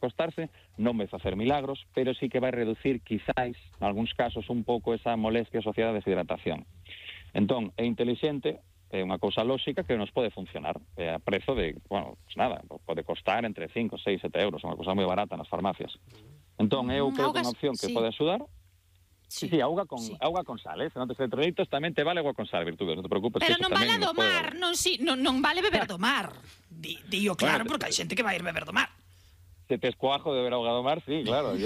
recostarse, non vai facer milagros, pero sí que vai reducir, quizáis, en algúns casos, un pouco esa molestia asociada a deshidratación. Entón, é intelixente, é unha cousa lóxica que nos pode funcionar. É a prezo de, bueno, pues nada, pode costar entre 5, 6, 7 euros, unha cousa moi barata nas farmacias. Entón, eu creo que é unha opción que pode axudar. Sí, auga con sal, se non tes electrolitos tamén te vale agua con sal, Virtudes, non te preocupes. Pero non vale a do mar, non vale beber do mar. Dío claro, porque hai xente que vai ir beber do mar. Se tes coajo de beber auga do mar, sí, claro,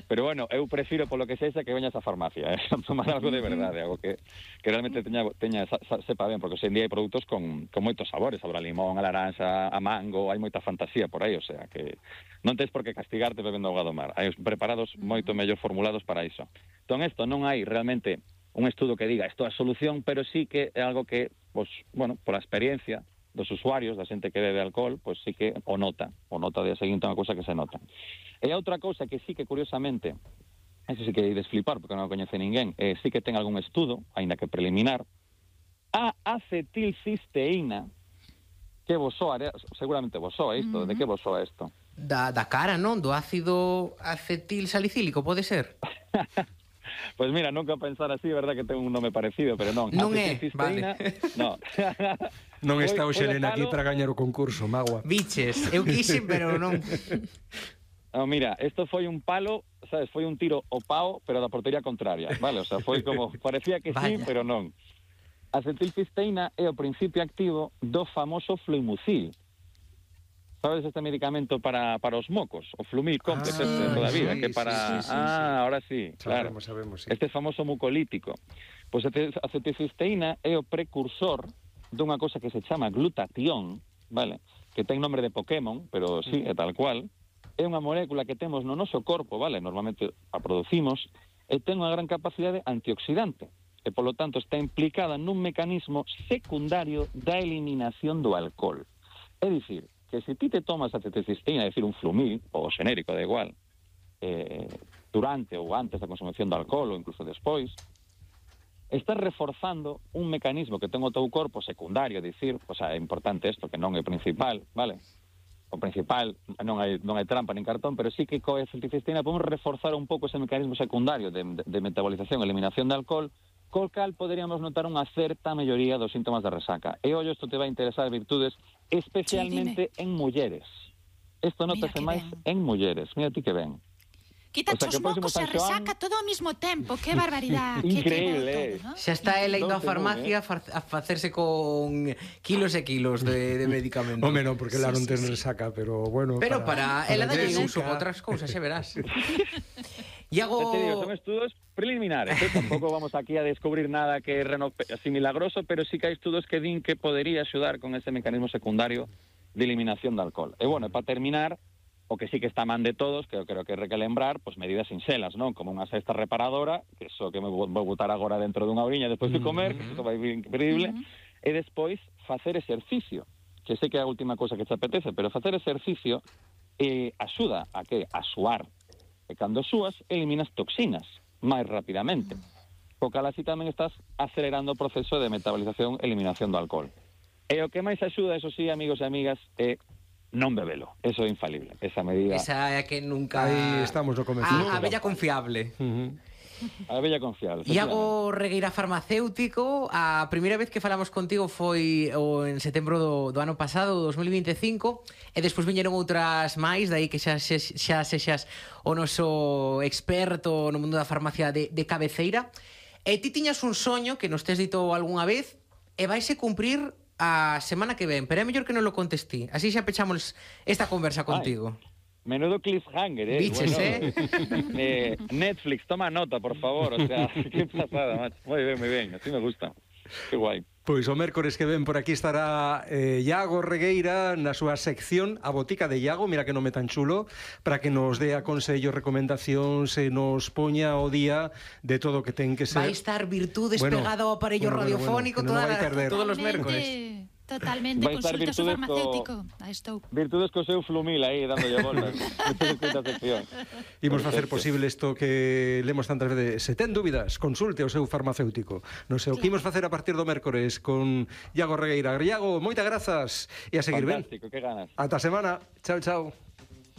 pero bueno, eu prefiro polo que sexa que veñas á farmacia, tomar algo de verdade, algo que realmente sepa ben, porque hoxe en día hai produtos con moitos sabores, sabor a limón, a laranxa, a mango, hai moita fantasía por aí, o sea, que non tens por que castigarte bebendo auga do mar, hai preparados moito mellor formulados para iso. Entón, isto non hai realmente un estudo que diga isto é a solución, pero sí que é algo que, pues, bueno, pola experiencia dos usuarios, da xente que bebe alcohol, pois sí que o nota día seguinte, unha cousa que se nota. E a outra cousa que sí que, curiosamente, eso sí que hai de flipar, porque non o coñece ninguén, sí que ten algún estudo, aínda que preliminar, a acetilcisteína, que vos soa, seguramente vos soa isto, de que vos soa isto? Da cara, non? Do ácido acetil salicílico, pode ser? Pois mira, nunca pensar así, verdad que ten un nome parecido, pero non. Non é, vale. Non. Non está o Xelena aquí para gañar o concurso, Magua. Biches, eu quixen, pero non. No, mira, isto foi un palo, sabes, foi un tiro ao pao, pero da portería contraria, vale? O sea, foi como, parecía que sí, pero non. A acetilcisteína é o principio activo do famoso Fluimucil. Sabes este medicamento para os mocos? O Flumil Complex toda a vida, que para... ahora sí, claro. Sabemos, sí. Este famoso mucolítico. Pois a acetilcisteína é o precursor dunha cosa que se chama glutatión, vale? Que ten nome de Pokémon, pero sí, é tal cual. É unha molécula que temos no noso corpo, vale? Normalmente a producimos, e ten unha gran capacidade antioxidante. E, polo tanto, está implicada nun mecanismo secundario da eliminación do alcohol. É dicir, que se ti te tomas acetilcisteína, é dicir, un Flumil, ou xenérico, da igual, durante ou antes da consumición do alcohol, ou incluso despois, estás reforzando un mecanismo que ten o teu corpo secundario, dicir, o sea, é importante isto, que non é o principal, vale? O principal non hai trampa nin cartón, pero sí que coa acetilcisteína podemos reforzar un pouco ese mecanismo secundario de metabolización e eliminación de alcohol, col cal poderíamos notar unha certa melloría dos síntomas de resaca. E ollo, isto te vai interesar, Virtudes, especialmente en mulleres. Isto notase máis en mulleres. Mira ti que ben. Quítate os mocos e resaca todo ao mesmo tempo. Que barbaridade. Increíble, Xa está ela indo á farmacia a facerse con kilos e kilos de medicamentos. Home, non, porque lá non ten resaca, pero bueno... Pero para ela dalle uso para outras cousas, xa verás. Iago... Te digo, son estudos preliminares, tampouco vamos aquí a descubrir nada que é así milagroso, pero sí que hai estudos que din que podería axudar con ese mecanismo secundario de eliminación de alcohol. E bueno, para terminar, o que sí que está man de todos, que eu creo que hai que lembrar, pues medidas sinxelas, non? Como unha cesta reparadora, que iso que me vou botar agora dentro dunha oriña despois de comer, que iso vai vir increíble, e despois facer exercicio, que sei que é a última cosa que te apetece, pero facer exercicio axuda a que? A suar. E cando súas, eliminas toxinas máis rapidamente. Co cal así tamén estás acelerando o proceso de metabolización e eliminación do alcohol. E o que máis axuda, eso sí, amigos e amigas, é non bebelo. Eso é infalible. Esa medida... Esa é que nunca... Aí estamos no convencido. A bella confiable. A bella confiable. Iago Regueira, farmacéutico, a primeira vez que falamos contigo foi en setembro do ano pasado, 2025, e despois viñeron outras máis, dai que xa sexas o noso experto no mundo da farmacia de cabeceira. E ti tiñas un soño que nos tes dito algunha vez e vaise cumprir a semana que ven, pero é mellor que non lo contestí. Así xa pechamos esta conversa contigo. Menudo cliffhanger, Biches, bueno, Netflix, toma nota, por favor. O sea, qué pasada, macho. Muy bien, así me gusta. Que guai. Pois o mércores que ven por aquí estará Iago Regueira na súa sección A Botica de Iago, mira que nome tan chulo, para que nos dé aconsellos, recomendacións, se nos poña o día de todo o que ten que ser. Vai estar Virtudes pegado ao aparello radiofónico todos os mércores. Totalmente, consulta o farmacéutico. Aí estou. Virtudes co seu Flumil aí, dándolle voltas. Imos facer posible isto que lemos tantas veces. Se ten dúbidas, consulte o seu farmacéutico. Non sei o que imos facer a partir do mércores con Iago Regueira. Iago, moitas grazas e a seguir ben. Fantástico, que ganas. Ata a semana. Chao, chao.